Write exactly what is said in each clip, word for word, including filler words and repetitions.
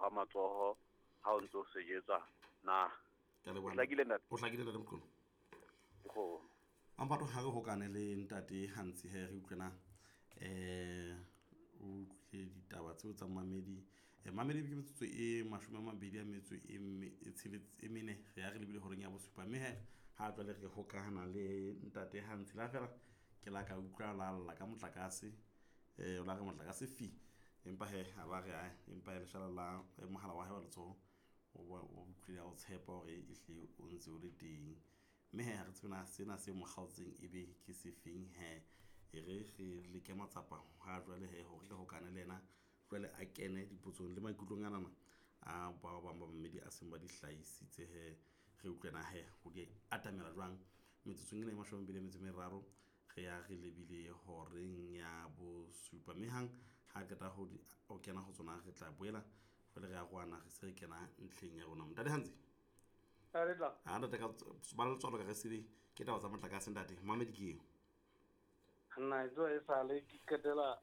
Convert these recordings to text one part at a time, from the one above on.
fa matsoho ha o ntso sejetswa na. Ke a leboha. O hlakile ntate? O hlakile ntate Moqolo. Go. Ampato ha re hokane le ntate Hantsi he re utlwena eh o utlwile ditaba tseo tsa mamedi. Eh, mamedi ke metsotso e mashome a mabedi a metso e me- e tsheletse e mene re ya re lebile horeng ya bosupa mme he ha jwale re hokahana le ntate Hantsi la fela ke la ka utlwa la lla ka motlakase eh o la re motlakase fi empa he ha ba re ae empa he leshala la eh, mohala wa hae wa letsoho o ba o utlwile a o tshepa hore ehlile o ntse o le teng mme he ha re tsebe na sena se mo kgaotseng ebe ke sefeng he e re re leke matsapa ha jwale he hore re hokane le yena jwale a kene dipotsong le maikutlong anana a ba bang ba mamedi a seng ba di hlahisitse he re utlwe na he ho di atamela jwang metsotsong ena e mashome a mabedi a metso e meraro re ya re lebile horeng ya bosupa mme hang ha qeta ho di ho kena ho tsona re tla boela jwale re arohana re se re kena ntlheng ya rona ntate Hantsi A re tla. ha ntate ka ba letswalo ka re sebe ke taba tsa motlakase ntate mamedi ke eo Nna e tsoha e sale ke qetela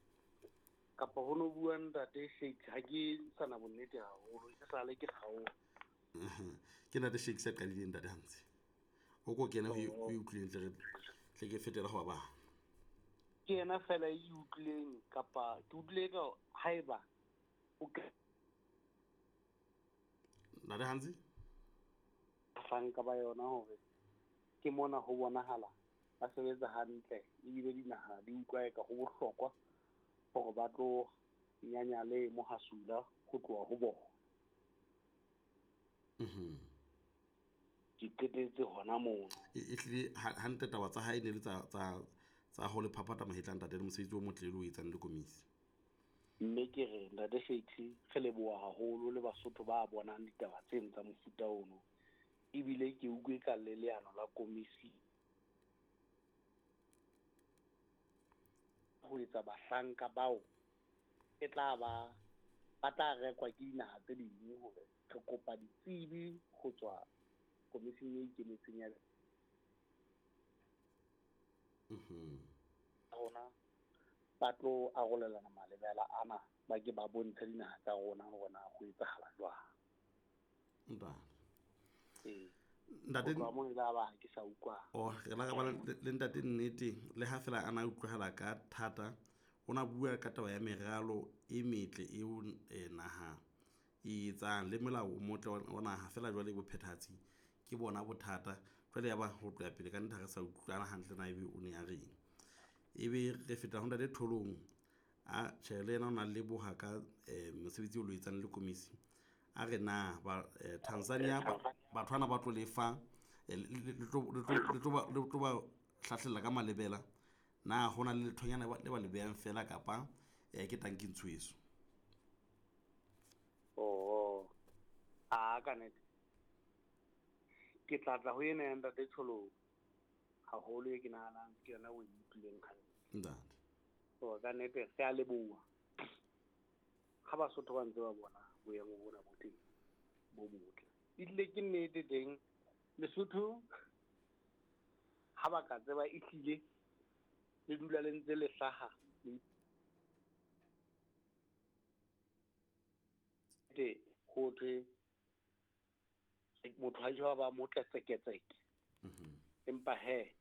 kapa ho no bua ntate Shakes ha ke sana bonnete haholo e sale ke kgaoha. Ke ntate Shakes a qadileng ntate Hantsi o ko kene ho e o e utlwileng tle re tle ke fetela ho ba bang. Ke yena fela e utlwileng kapa ke utlwile ka haeba o ke Ntate Hantsi bahlanka ba yona hore ke mona ho bonahala ba sebetsa hantle ebile dinaha di utlwa eka ho bohlokwa hore ba tlo nyanya le mohasula ho tloha ho bona. Mhm. Ke qetetse hona mono. E ehlile hantle taba tsa hae ne le tsa tsa tsa ho le phaphatha mahetla ntate le mosebetsi o motle le o etsang le komisi. Mme ke re ntate Shakes re leboha haholo le Basotho ba bonang ditaba tseno tsa mofuta ono. Ebile ke utlwe ka le leano la komisi ho etsa bahlanka bao e tla ba ba tla rekwa ke dinaha tse ding hore re kopa ditsebi ho tswa komising e ikemetseng ya Mhm. rona ba tlo arolelana malebela ana ba ke ba bontshe dinaha tsa rona hore na ho etsahala jwang. Ntate. Ee. Ntate Ho tloha moo e la ba ha ke sa utlwa. Oh, re la ba le ntate nnete le ha fela ana utlwahala ka thata o na bua ka taba ya meralo e metle eo eh, naha e etsang le molao o motle wa naha fela jwale bophethahatsi ke bona bothata jwale ya ba ho tloha pele ka nnete ha re sa utlwana hantle na ebe o ne a reng ebe re feta ho ntate Tholong a tjhe le yena o na leboha ka eh, mosebetsi o lo etsang le komisi a re na ba eh, Tanzania batho bana ba tlo lefa eh, le tlo le tlo ba le tlo ba hlahlella ka malebela na hona le lethonyana le ba le behang fela kapa eh, ke tanki ntsweso. Oh, a ka nnete ke tla tla ho ena ya ntate Tholong haholo e ke nahanang ke yona o e utlwileng hantle. Ntate. So ka nnete re a leboha ha Basotho ba ntse ba bona boemo bona bo teng bo botle. Ehlile ke nnete teng Lesotho ha ba ka tseba ehlile le dula le ntse le hlaha le te ho thwe motho ha jwa ba motle tseketseke. Mhm. Empa he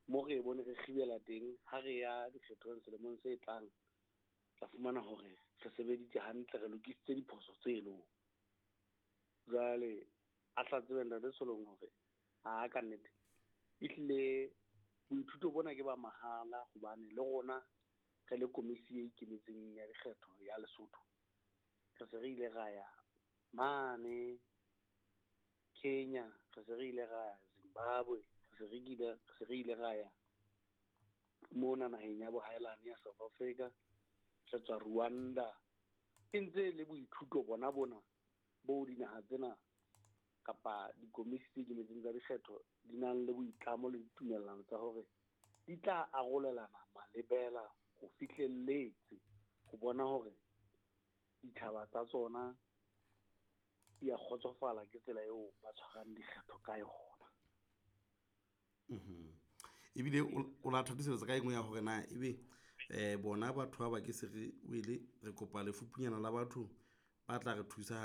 mo re bone re kgibela teng ha re ya dikgethong selemong se tlang tla fumana hore re sebeditse hantle re lokisitse diphoso tseno. Jwale a tla tsebe ntate Tholong hore ha ka nnete ehlile boithuto bona ke ba mahala hobane le rona re le komisi e ikemetseng ya dikgetho ya Lesotho re se re ile ra ya mane Kenya re se re ile ra ya Zimbabwe re se re ile re se re ile ra ya mona naheng ya bohaelane ya South Africa re tswa Rwanda e ntse le boithuto bona bona bo dinaha tsena kapa dikomisi tse ikemetseng tsa dikgetho di nang le boitlamo le ditumellano tsa hore di tla arolelana malebela ho fihlelletse ho bona hore ditjhaba tsa tsona di a kgotsofala ke tsela eo ba tshwarang dikgetho ka yona. Mhm. Ebile o la thatisetsa ka engwe ya hore na ebe eh bona batho ba ba ke se re wele re kopa lefupunyana la batho ba tla re thusa